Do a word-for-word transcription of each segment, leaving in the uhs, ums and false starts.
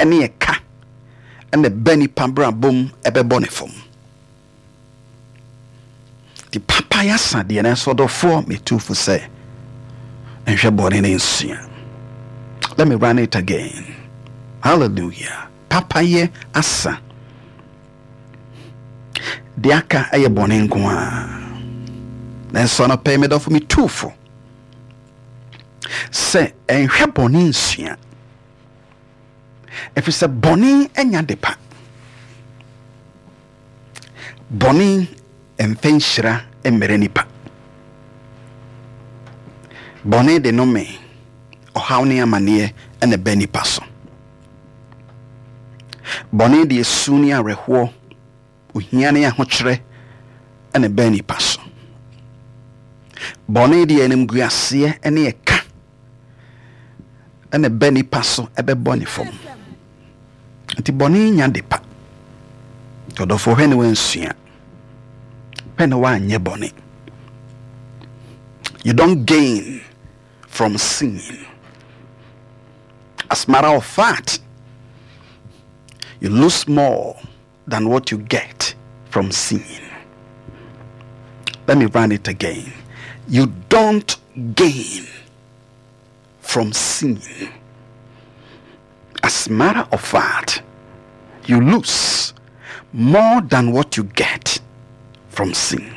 Ne ɛka ɛna ɛbɛ nipa brabom ɛbɛbɔ ne fam. Nti papa yɛ asa deɛ, nanso ɔdɔfoɔ, metu fo sɛ nhwɛ bɔne ne nsua. Let me run it again. Hallelujah. Papa yɛ asa deɛ, aka ɛyɛ bɔne nko a, nanso anɔpɛ, medɔfo, metu fo sɛ ɛnhwɛ bɔne nsua, ɛfiri sɛ bɔne anya de pa, bɔne mfɛ nhyira mmerɛ nipa, bɔne de nome, ɔhaw ne amanneɛ ɛna ɛbɛ nipa so. Bɔne de esu ne awerɛhoɔ, ohia ne ahokyerɛ ɛna ɛbɛ nipa so. Bɔne de animguaseɛ ne ɛka ɛna ɛbɛ nipa so, ɛbɛbɔ ne fam. Nti bɔne nya de pa. Nti ɔdɔfoɔ, hwɛ ne wansua hwɛ ne woanyɛ bɔne. You don't gain from sin. As a matter of fact, you lose more than what you get from sin. Let me run it again. You don't gain from sin. As a matter of fact, you lose more than what you get from sin.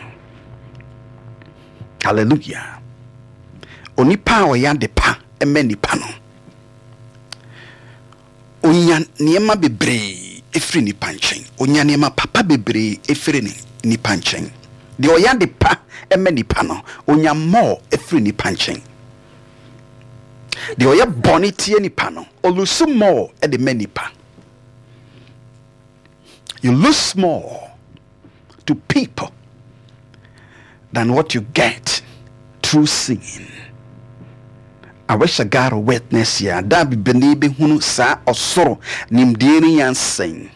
Hallelujah. Onipa a ɔyɛ ade pa ɛmɛ nipa no, onya nneɛma bebree efiri nipa nkyɛn, onya nneɛma papa bebree efiri ne nipa nkyɛn. Deɛ ɔyɛ ade pa ɛmɛ nipa no, onya more efiri nipa nkyɛn. Deɛ ɔyɛ bɔne tie nipa no, ɔlose more ɛde mɛ nipa. You lose more to people than what you get through sin. I wish I got a witness here. Da bibini bɛhunu saa ɔsoro nimdeɛ ne nyansɛn,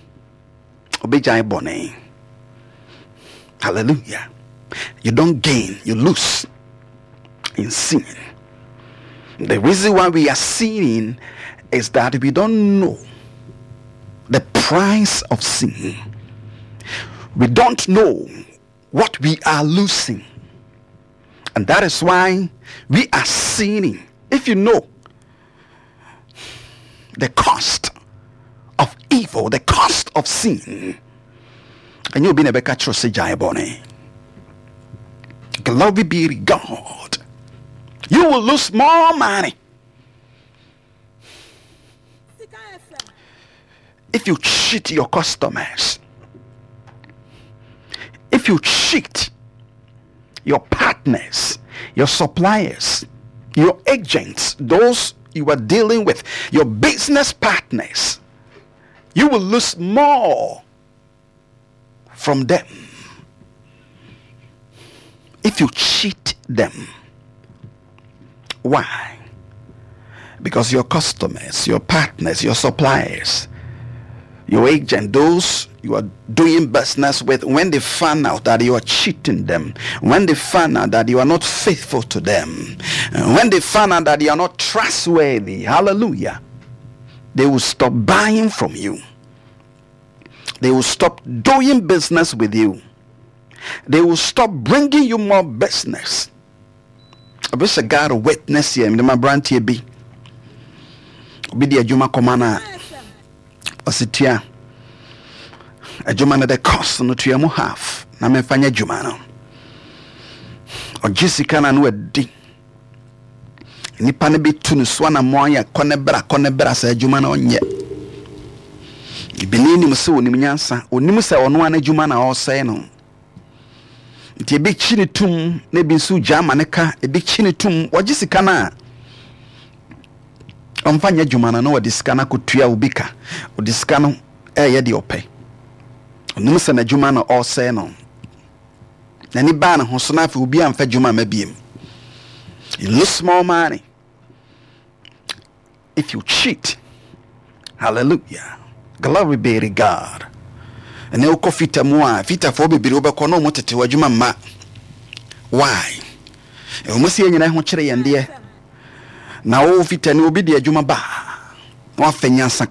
ɔbɛgyae bɔne. Hallelujah. You don't gain, you lose in sin. The reason why we are sinning is that we don't know the price of sin. We don't know what we are losing. And that is why we are sinning. If you know the cost of evil, the cost of sin, and you'll be never catch sɛ gyae bɔne. Glory be to God. You will lose more money Sika F M. If you cheat your customers, if you cheat your partners, your suppliers, your agents, those you are dealing with, your business partners, you will lose more from them if you cheat them. Why? Because your customers, your partners, your suppliers, your agent, those you are doing business with, when they find out that you are cheating them, when they find out that you are not faithful to them, when they find out that you are not trustworthy, hallelujah, they will stop buying from you. They will stop doing business with you. They will stop bringing you more business. I wish I got a witness here. Mede aberanteɛ bi, obi de adwuma kɔma no a, F M. Ɔsi tua adwuma no, the cost no, tua mu half na memfa nyɛ adwuma no. Ɔgye sika no a, no wadi nipa no bɛtu no so anammɔ ayɛ kɔ ne bra, kɔ ne bra sɛ adwuma no ɔnyɛ. Ebini nim sɛ onim nyansa, onim sɛ ɔno ara n'adwuma na ɔresɛe no. Nti ebi kyi ne tum na ebi nso gya ama ne ka. Ebi kyi ne tum, wɔgye sika no a, ɔmfa nyɛ adwuma no na wɔde sika no akɔtua obi ka. Ɔde sika no ɛyɛ deɛ ɔpɛ. Ɔnim sɛ n'adwuma no ɔresɛe no. N'ani baa ne ho so na afei obi amfa adwuma ama biem. You lose more money if you cheat. Hallelujah. Glory be to God. Ɛnɛ wokɔ fita mu a, fitafoɔ bebree wobɛkɔ na ɔmo tete wɔ adwuma mma. Why? Ɛwɔ mu sɛ yɛn nyinaa ho kyerɛ yɛn deɛ, na wo fita ni, obi de adwuma ba na wafɛ nyansa.